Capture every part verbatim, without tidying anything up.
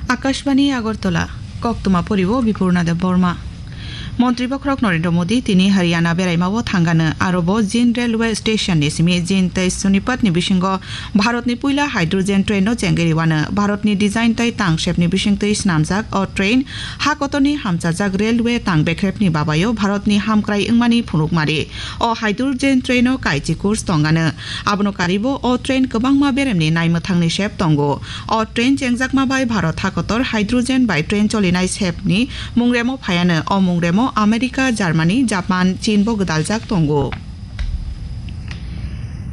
Akashbani Agartala, koktwma poribo Bipurna Deb Borma. Montri Bokhorok Narendra Modi tini Haryana beraimao thangano, arobo Jind Railway Station ni simi Jind tei Sonipat ni bisingo Bharat ni puila hydrogen train no chengwi rwano. Bharat ni design tei tang sep ni bisingtwi swnamjak o train ha kotor ni hamchajak railway tang bekrep ni babayo Bharat ni hamkrai wngmani phunukmari. O hydrogen train o kaichi course tongano. Abono karibo o train kwbangma beremni naimwthangni sep tongo. O train chengjakma bai Bharat hakotor hydrogen bai train cholinai sepni mungremo phaiano. O mungremo America, Germany, Japan, Chin bo gwdaljak tongo.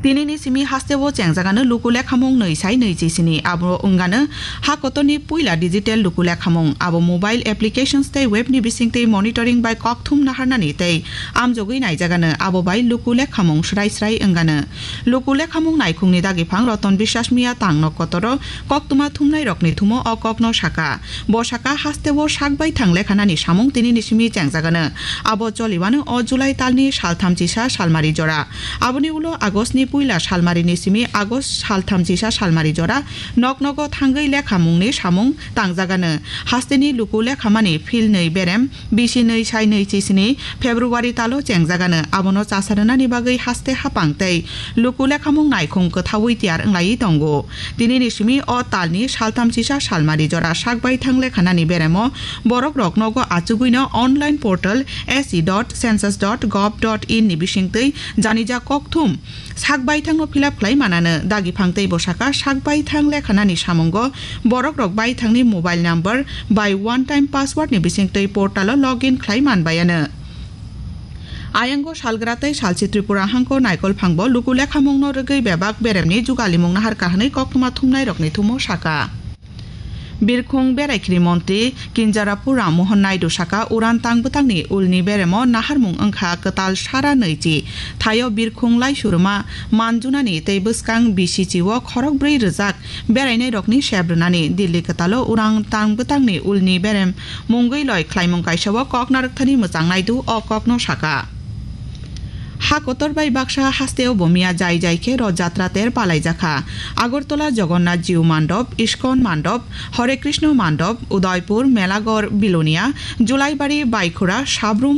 Tinini simi hasteo chengjagano luku lekhamung nwi sai nwi chisini. Abo wngano ha kotorni puila digital luku lekhamung. Abo mobile applications tei web ni bisingtwi monitoring bai kokthum naharnani tei amjogwi naijagano. Abo bai luku lekhamung srai srai wngano. Luku lekhamung naikhungni dagiphang Roton Biswas Miya tangno kotoro koktwma thumnairokni thumo o kokno saka. Bo saka hasteo sak baithang lekhanani samung tinini simi chengjagano. Abo choliwano o July talni saltham chisa salmari jora. Aboni ulo August ni puila salmari ni simi August saltham chisa salmari jora nok nogo thangwi lekhamungni samung tangjagano. Hasteni luku lekhamani phil nwi berem bisi nwi sai nwi chisini February talo chengjagano. Abono chasa rwnani bagwi haste hapang tei luku lekhamung naikhung kwthaui tiyar wnglaiwi tongo. Tinini simi o talni saltham chisa salmari jora sak baithang lekhanani beremo borok rok nogo achugwino online portal S E dot census dot gov dot in ni bisingtwi janija kokthum sak baithangno fill up khlai manano. Dagiphang tei bwsaka sak baithang lekhanani samungo borok rok baithangni mobile number bai one time password ni bisingtwi portal o login khlai manbayano. Ayango salgra tei salchi Tripura hangko naikol phangbo luku lekhamungno rwgwi bebak beremni jugalimung nahar kahanwi koktwma thumnairokni thumo saka. Birkhung Beraikhiri Montri Kinjarapu Ram Mohan Naidu saka uran tang bwtangni ulni beremo naharmung wngkha kwtal sara nwichi. Thaio birkhung laisuruma manjunani tei bwskang bisichi o khorok bwrwi rwjak berainairokni sep rwnani. Delhi kwtalo uran tang bwtangni ulni berem mungwi loi khlaimung kaisa o kok narwkthani mwchang Naidu o kokno saka. Ha kotor bai baksa hasteo bo miya jai jai khe Roth Jatra ter palaijakha. Agartala Jagannath Jiu Mandop, Iskon Mandop, Hare Krishna Mandop, Udaipur, Melaghor, Bilonia, Julaibari, Baikhura, Sabrum,